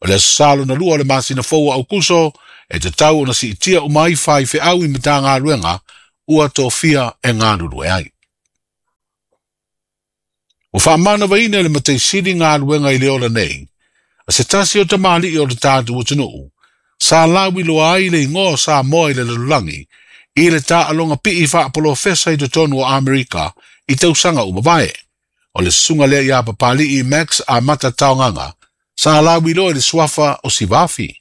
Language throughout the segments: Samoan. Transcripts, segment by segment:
le Aso Sa lona lua o le masina fou o Aukuso e tatau ona siitia uma ai faifeau i Matagaluega ua tofia e galulue ai. Ua faamanavaina e le Matai Sili galuega i le ola nei, a se tasi o tamalii o le tatou atunuu, sa lauiloa ai le igoa o Samoa i le lalolagi i le taaloga pii faapolofesa i totonu o Amerika i tausaga ua mavae. O le susuga lea ia Papalii Max Amata Taogaga, sa lauiloa i le suafa o Sivafi.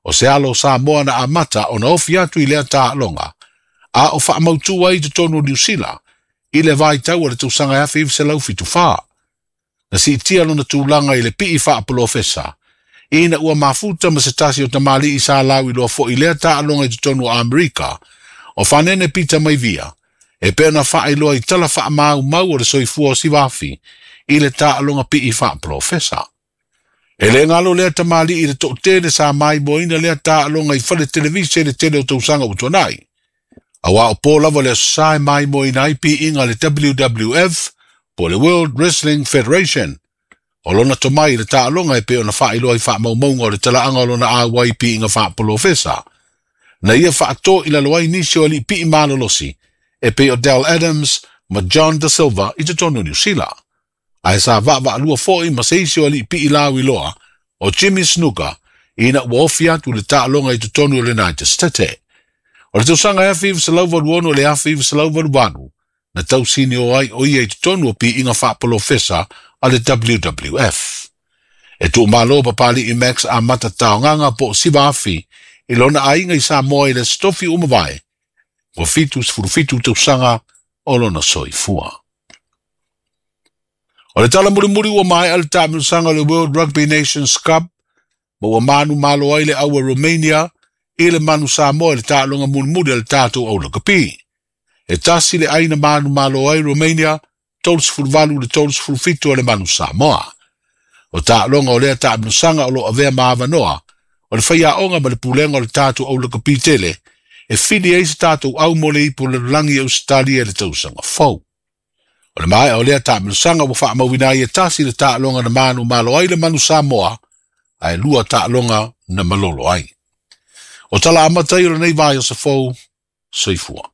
O se alo o Samoa na amata ona ofi atu i lea taaloga, a o faamautu ai i totonu o Niu Sila i le vaitau o le tausaga 1974. Na siitia lona tulaga i le pii faapolofesa, ina ua mafuta ma se tasi o tamalii sa lauiloa foi i lea taaloga i totonu o Amerika, o Fanene Peter Maivia, e pei ona faailoa i tala faamaumau o le soifua o Sivafi i le taaloga pii faapolofesa. E le galo lea tamalii i le toatele sa maimoaina lea taaloga i fale televise i le tele o tausaga ua tuanai. Aua o po lava le Aso Sa e maimoaina ai piiga a le WWF po o le World Wrestling Federation. O lona tomai i le taaloga e pei ona faailoa i faamaumauga o le talaaga o lona auai i piiga faapolofesa. Na ia faato i lalo ai nisi o alii pii malolosi e pei o Dell Adams ma John Da Silva i totonu o Niu Sila. Ae sa vaavaalua foi ma se isi o alii pii lauiloa o Jimmy Snuka ina ua ofi atu i le taaloga i totonu o le United States. O le tausaga 1986 i le 1988 na tausinio ai o ia i totonu o piiga faapolofesa a le WWF. E tuumalo Papalii Max Amata Taogaga po o Sivafi i lona aiga i Samoa i le Aso Tofi ua mavae, ua 77 tausaga o lona soifua. O le tala mulimuli ua maea le taamilosaga o le World Rugby Nations Cup ma ua manumalo ai le au a Romania i le manu Samoa i le taaloga mulimuli a le tatou au lakapi. E tasi le ai na manumalo ai Romania, 38 i le 37 a le manu Samoa. O taaloga o lea taamilosaga o lo o avea ma avanoa o le faiaoga ma le pulega o le tatou au lakapi tele e fili ai se tatou au mo le ipu o le lalolagi i Ausetalia i le tausaga fou. O le maea o lea taamilosaga ua faamauina ai e tasi le taaloga na manumalo ai le manu Samoa, ae lua taaloga na malolo ai. O tala amata ia o lenei vaiaso fou, soifua.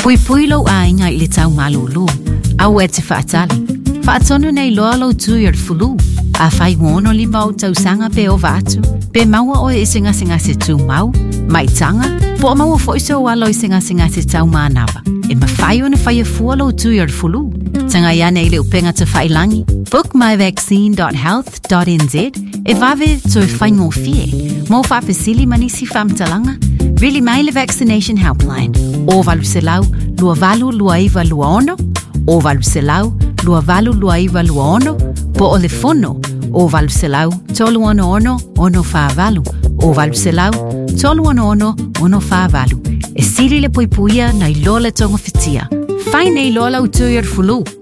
Puipui lou aiga i le tau malūlū. Aua e te faatali. Faatonu nei loa lou tui o le fulu. Afai ua 65 ou tausaga pe ova atu, pe maua oe i se gasegase tumau, maitaga, po o maua foi sou alo i se gasegase tau manava, e mafai ona faia fua lou tui o le fulu. Tagai ane i le upega tafailangi bookmyvaccine.health.nz e vave toe faigofie. Mo faafesili ma nisi faamatalaga, vili mai le Vaccination Helpline o 800 2829 26 o 800 2829 26 po o le fono o 800 366 648 o 800 366 648. E sili le puipuia nai lo le togafitia. Fai nei loa lau tui o le fulu.